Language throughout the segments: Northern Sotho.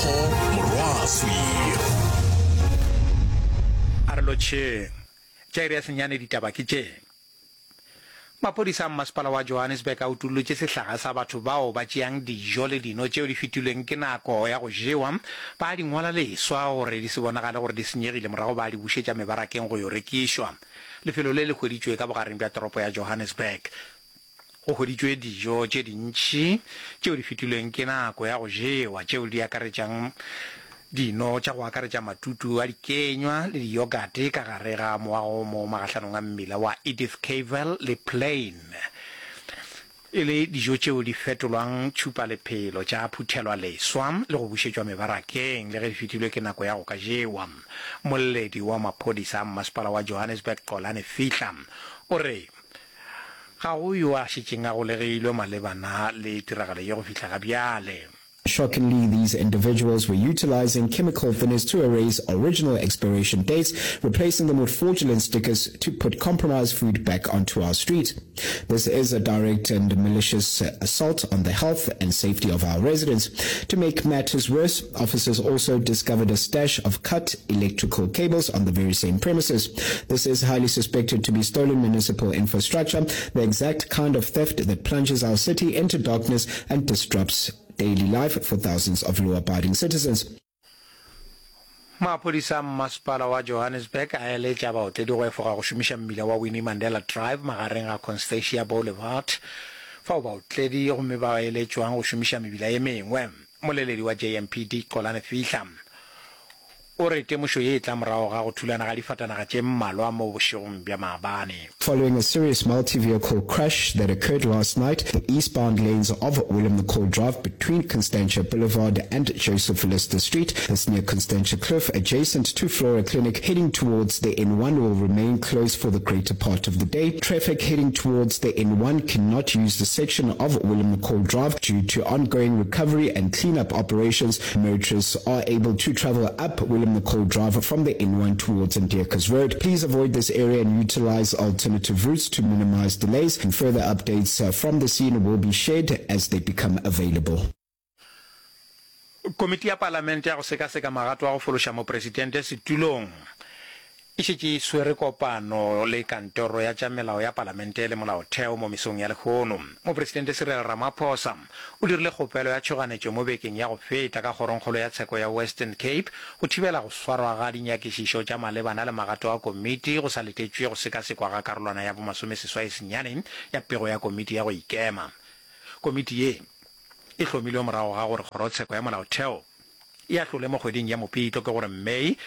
Tebogo Morwaswi. A re lotšheng. Tša iri ya senyane ditaba ke tše. Maphodisa a mmasepala wa Johannesburg a utollotše sehlaga sa batho bao ba tšeang dijo le dino tšeo di fetilweng ke nako ya go jewa, ba di ngwala leswa gore di se bonagale gore di senyegile morago ba di bušetša mebarakeng go yo rekišwa. Lefelo le le hweditšwe ka bogareng bja toropo ya Johannesburg. Go hweditšwe dijo tše dintši tšeo di fetilweng ke nako ya go jewa tšeo di akaretšang dino tša go akaretša matutu a dikenywa le diyogate ka gare ga moago mo magahlanong a mmila wa Edith Cavell le Plein, e le dijo tšeo di fetolwang tšhupalephelo tša phuthelwa leswa le go bušetšwa mebarakeng le ge di fetilwe ke nako ya go ka jewa. Molledi wa maphodisa a mmasepala wa Johannesburg Xolani Fihla o re Ga go yo a šetšeng a golegilwe malebana le tiragalo ye go fihla ga bjale. Shockingly, these individuals were utilizing chemical thinners to erase original expiration dates, replacing them with fraudulent stickers to put compromised food back onto our streets. This is a direct and malicious assault on the health and safety of our residents. To make matters worse, officers also discovered a stash of cut electrical cables on the very same premises. This is highly suspected to be stolen municipal infrastructure, the exact kind of theft that plunges our city into darkness and disrupts daily life for thousands of law-abiding citizens. Maphodisa a mmasepala wa Johannesburg a eletša baotledi go efoga go šomiša mmila wa Winnie Mandela Drive magareng ga Constantia Boulevard fao baotledi gomme ba eletšwang go šomiša mebila ye mengwe. Moleledi wa JMPD Xolani Fihla o re temošo ye e tla morago ga go thulana ga difatanaga tše mmalwa mo bošegong bja maabane. Following a serious multi-vehicle crash that occurred last night, the eastbound lanes of Willem McCall Drive between Constantia Boulevard and Joseph Lister Street, this near Constantia Kloof, adjacent to Flora Clinic, heading towards the N1 will remain closed for the greater part of the day. Traffic heading towards the N1 cannot use the section of Willem McCall Drive due to ongoing recovery and cleanup operations. Motorists are able to travel up Willem McCall Drive from the N1 towards Ndiekas Road. Please avoid this area and utilize alternative routes to minimize delays. And further updates uh, from the scene will be shared as they become available. Komiti ya Palamente ya go sekaseka magato a go fološa Mopresidente setulong e šetše e swere kopano le Kantoro ya tša Melao ya Palamente le Molaotheo mo mesong ya lehono. Mopresidente Cyril Ramaphosa o dirile kgopelo ya tšhoganetšo mo bekeng ya go feta ka Kgorongkgolo ya Tsheko ya Western Cape go thibela go swarwa ga dinyakišišo tša malebana le magato a komiti go sa letetšwe go sekasekwa ga karolwana ya bomasomeseswai-senyane ya pego ya komiti ya go ikema. Komiti ye e hlomilwe morago ga gore Kgorotsheko ya Molaotheo e ahlole mo kgweding ya Mopitlo, ke gore May,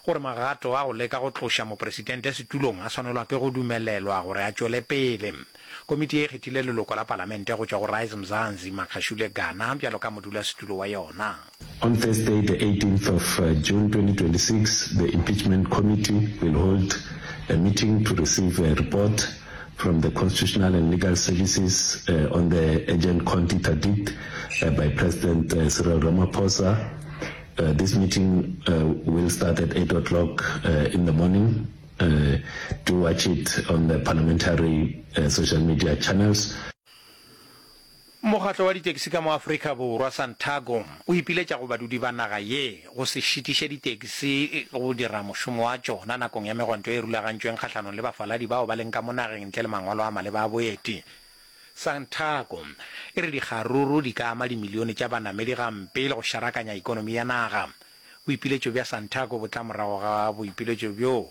gore magato a go leka go tloša mopresidente setulong a swanelwa ke go dumelelwa gore a tšwele pele. Komiti ye e kgethile leloko la palamente go tšwa go Rise Mzansi, Makgashule Gana, bjalo ka modulasetulo wa yona. On Thursday, the 18th of uh, June 2026, the Impeachment Committee will hold a meeting to receive a report from the Constitutional and Legal Services uh, on the urgent Conti interdict uh, by President uh, Cyril Ramaphosa. Uh, this meeting uh, will start at 8 o'clock uh, in the morning. Uh, do watch it on the parliamentary uh, social media channels. Mokgatlo wa ditekisi ka mo Afrika Borwa, Santaco, o ipiletša go badudi ba naga ye go se šitiše ditekisi go dira mošomo wa tšona nakong ya megwanto e rulagantšweng kgahlanong le bafaladi bao ba leng ka mo nageng ntle le mangwalo a maleba a boeti. Santaco e re dikgaruru di ka ama dimilione tša banamedi gampe le go šarakanya ikonomi ya naga. Boipiletšo bja Santaco bo tla morago ga boipiletšo bjo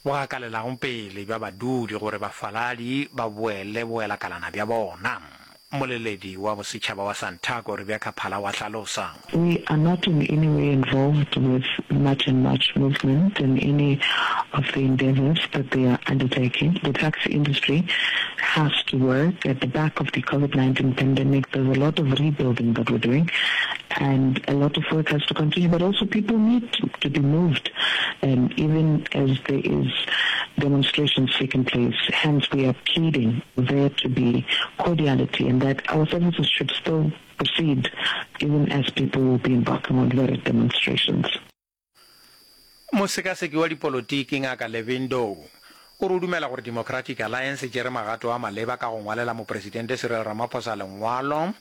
bo gakalelago pele bja badudi gore bafaladi ba boele boelakalana bja bona. Mmoleledi wa bosetšhaba wa Santaco, Rebecca Phala wa hlalosa. We are not in any way involved with March and March movement and any of the endeavours that they are undertaking. The taxi industry has to work. At the back of the COVID-19 pandemic, there's a lot of rebuilding that we're doing and a lot of work has to continue, but also people need to, to be moved, um, even as there is demonstrations taking place. Hence, we are pleading there to be cordiality and that our services should still proceed even as people will be embarking on various demonstrations. Mosekaseki wa dipolotiki Ngaka Levin Dow o re o dumela gore Democratic Alliance e tšere magato a maleba ka go ngwalela Mopresidente Cyril Ramaphosa lengwalo.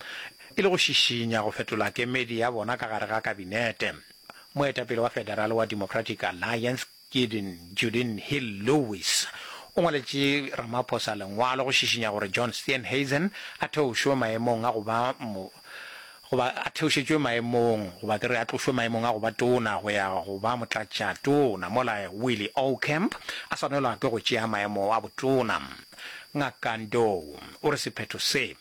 e le go šišinya go fetola kemedi ya bona ka gare ga kabinete. Moetapele wa federale wa Democratic Alliance, Gideon Judin Hill Lewis, o ngwaletše Ramaphosa lengwalo go šišinya gore John Steenhuisen a theošwe maemong a go ba goba a theošetšwe maemong goba ke re a tlošwe maemong a go ba tona go ya go ba motlatšatona mola Willie Aucamp a swanelwa ke go tšea maemo a botona. Ngaka Ndou o re sephetho se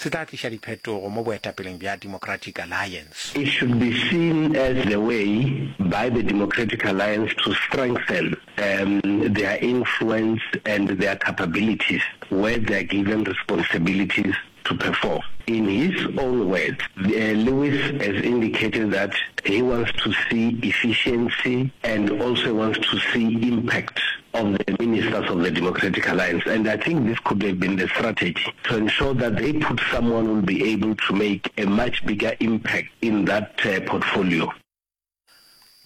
se tla tliša diphetogo mo boetapeleng bja Democratic Alliance. It should be seen as the way by the Democratic Alliance to strengthen their influence and their capabilities where they are given responsibilities to perform. In his own words, Lewis has indicated that he wants to see efficiency and also wants to see impact of the ministers of the Democratic Alliance and I think this could have been the strategy to ensure that they put someone who will be able to make a much bigger impact in that portfolio.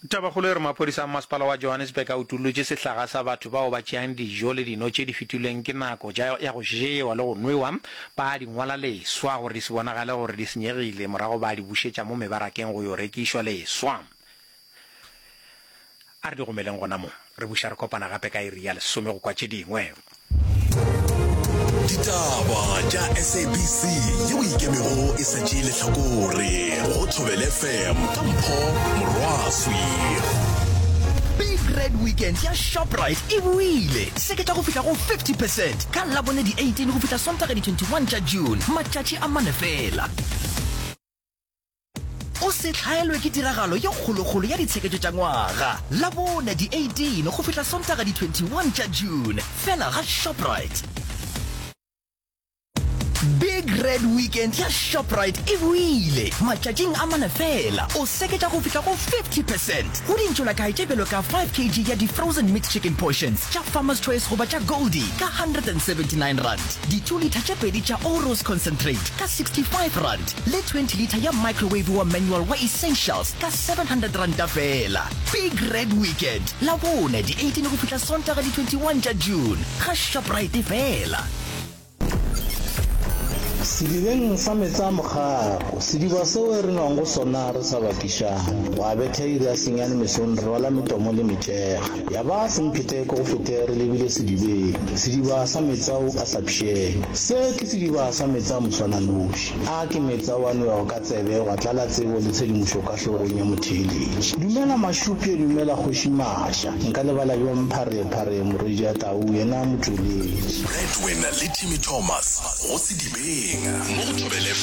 Tabakgolo e re maphodisa a mmasepala wa Johannesburg a utollotše sehlaga sa batho bao ba tšeang dijo le dino tše di fetilweng ke nako tša ya go jewa le go nwewa, ba di ngwala leswa gore di se bonagale gore di senyegile, morago ba di bušetša mo mebarakeng go yo rekišwa leswa. A re di gomeleng gona mo. Re buša re kopana gape ka iri ya lesome go kwa tše dingwe. Ditaba tša SABC yeo e ikemego e sa tšee lehlakore go Thobela FM ka Mpho Morwaswi. Big Red Weekend ya Shoprite e boile! Seketša go fihla go 50 percent ka Labone di 18 go fihla Sontaga di 21 tša June, matšatši a mane fela. O se hlaelwe ke tiragalo ye kgolokgolo ya ditsheketšo tša ngwaga, Labone di 18 go fihla Sontaga di 21 tša June, fela ga Shoprite. Big Red Weekend ya Shoprite e boile! Matšatšing a mane fela, o seketša go fihla go 50 percent go dintšolakae tše bjalo ka 5 kg ya di-frozen mixed chicken portions tša Farmer's Choice goba tša Goldie ka R179, di-two litre tše pedi tša Oros Concentrate ka R65, le 20 litre ya microwave wa manual wa Essentials ka R700 feela. Big Red Weekend, Labone di 18 go fihla Sontaga di 21 tša June, ga Shoprite feela. Sedibeng sa meetse a mokgako, sediba seo re nwang go sona re sa bakišane. Gwa betha iri ya senyane mesong re rwala metomo le metšega. Ya ba semphete ke go fete re lebile sedibeng, sediba sa meetse ao a sa pšheng. Se ke sediba sa meetse a moswananoši. A ke meetse ao a nwewago ka tsebe gwa tlala tsebo le tshedimošo ka hlogong ya motheeletši. Dumela Mašupje, dumela Kgoši Maša. Nka lebala bjang Pharephare morwedi ya tau yena motšweletši. Bradwin le Timmy Thomas go Sedibeng mo go Thobela.